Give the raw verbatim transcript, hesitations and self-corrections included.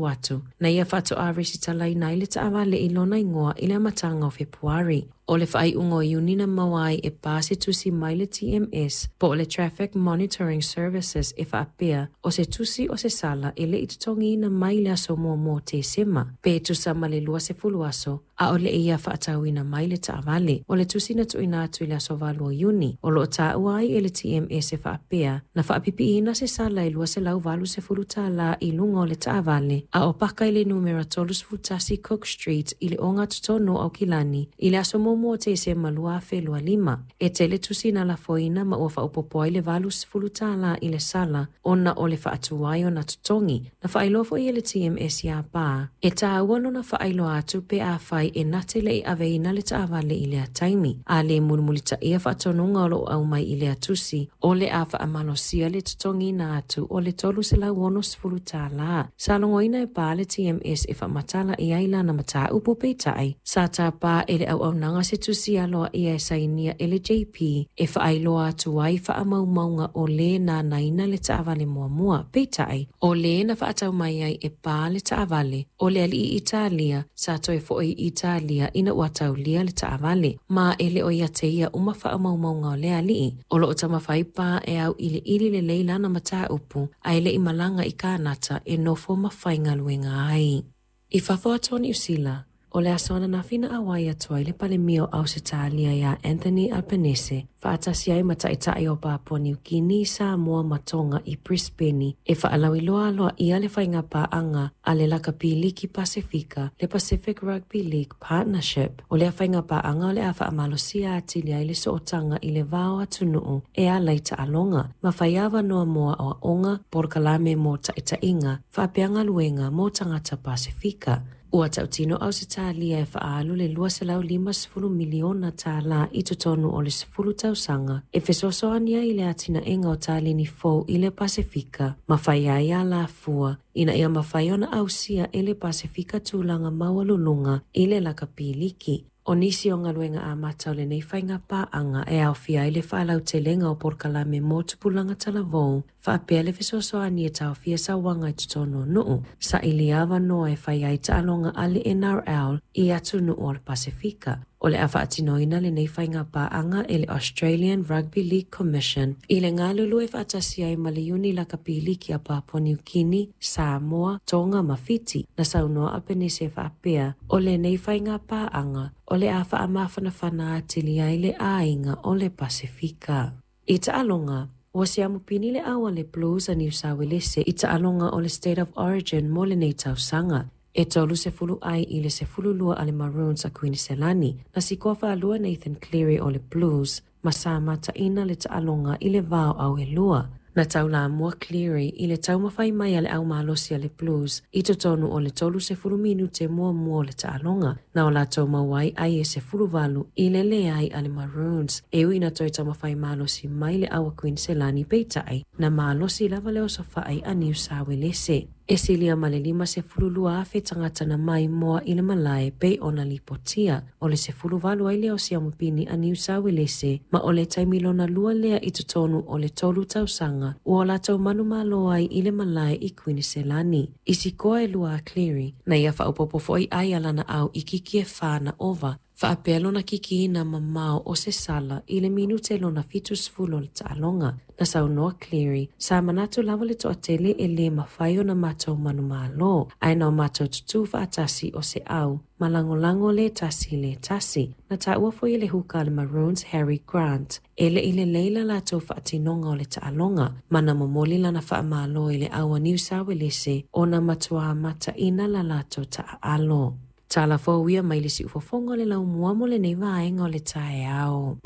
Atu, na ia faatoa resitalaina ai le taavale i lona igoa i le amataga o Fepuari. O le faaiuga o Iuni na maua ai e pa se tusi mai le T M S po o le Traffic Monitoring Services e faapea o se tusi o se sala e le i totogiina mai le aso muamua o Tesema, pe tusa ma le luasefulu aso, a o le i ia faatauina mai le taavale. O le tusi na tuuina atu i le aso valu o Iuni, o loo taua ai e le T M S e faapea na faapipiina se sala e luaselau valusefulu tālā i luga o le taavale, a o paka i le numera tolusefulu tasi Cook Street i le ogatotonu o Aukilani i le aso muamua o Tesema lua afe lua lima. E tele tusi na lafoina ma ua faaopopo ai le valusefulu tālā i le sala ona o le faatuai o na totogi. Na faailoa foi e le T M S iā Pā e tāua lona faailoa atu pe afai e nate le i aveina le taavale i lea taimi. A le mulimulitaia faatonuga o loo aumai i lea tusi, o le a faamalosia le totogiina atu o le toluselau onosefulu tālā. Sa logoina e Pā le T M S e faamatala i ai lana mataupu peitai, sa tāpā e le auaunaga se tusi aloa ia e sainia e le J P e faailoa atu ai faamaumauga o le nānaina le taavale muamua. Peitai, o le na faatau mai ai e Pā le taavale, o le alii Italia, sa toe foi i Italia ina ua taulia le taavale, ma e le o ia te ia uma faamaumauga o le alii. O loo taumafai Pā e au iliili lelei lana mataupu, a e le i malaga i Kanata e nofo ma faigaluega ai. I fafo atu o Niu Sila, o le aso ananafi na auai atu ai le palemia o Ausetalia iā Anthony Albanese, faatasi ai ma taitai o Papua Niu Kini, Samoa ma Tonga i Brisbane, e faalauiloa aloaia le faigapaaga a le Lakapi Liki Pasifika, le Pacific Rugby League Partnership. O lea faigapaaga o le a faamalosia atili ai le sootaga i le va o atunuu e ala i taaloga, ma fai avanoa mo aoaoga, polokalame mo taitaiga, faapea galuega mo tagata Pasifika. Ua tautino Ausetalia e faaalu le luaselau limasefulu miliona tālā i totonu o le sefulu tausaga e fesoasoani ai i le atinaega o taleni fou i le Pasifika ma fai ai alafua ina ia mafai ona ausia e le Pasifika tulaga maualuluga i le lakapi liki. O nisi o galuega amata o lenei faigapaaga e aofia ai le faalautelega o polokalame mo tupulaga talavou, faapea le fesoasoani e taofia sauaga i totonu o nuu, sailia avanoa e fai ai taaloga a le N R L i atunuu o le Pasifika. O le a faatinoina lenei faigapaaga e le Australian Rugby League Commission i le galulue faatasi ai ma le Iuni Lakapi Liki a Papua Niu Kini, Samoa, Tonga ma Fiti. Na saunoa Albanese e faapea o lenei faigapaaga o le a faamafanafana atili ai le aiga o le Pasifika. I taaloga, ua siamupini le au a le Blues a Niu Sawelese i taaloga o le State of Origin mo lenei tausaga. E tolu sefulu ai i le sefulu lua a le Maroons a Queensland, na sikoa faalua Nathan Cleary o le Blues, ma sa mataina le taaloga i le vao au e lua. Na taulamua Cleary i le taumafai mai a le au malosi a le Blues i totonu o le tolu sefulu minute muamua o le taaloga, na o latou maua ai ai e sefulu valu i le leai a le Maroons. E ui na toe taumafai malosi mai le au a Queensland peitai, na malosi lava le osofai a Niu Sawelese. E silia ma le lima sefulu lua afe tagata na mai moa i le malae pei ona lipotia. O le sefulu valu ai lea o siamupini a Niu Sawelese, ma o le taimi lona lua lea i totonu o le tolu tausaga, ua o latou manumalo ai i le malae i Queensland. I sikoa e lua a Cleary, na ia faaopopo foi ai a lana au i kiki e whā na ova, faapea lona kikiina mamao o se sala i le minute lona fitusefulu o le taaloga. Na saunoa Cleary, sa manatu lava le toatele e le mafai ona matou manumalo, ae na o matou tutū faatasi o se au, ma lagolago le tasi le tasi. Na taua foi e le huka a le Maroons Harry Grant, e le i lelei la latou faatinoga o le taaloga, ma na momoli lana faamalo i le au a Niu Sawelese ona matuā mataina la latou taaalo. Tala fou ia mai le siufofoga o le laumua mo lenei vaega o le taeao.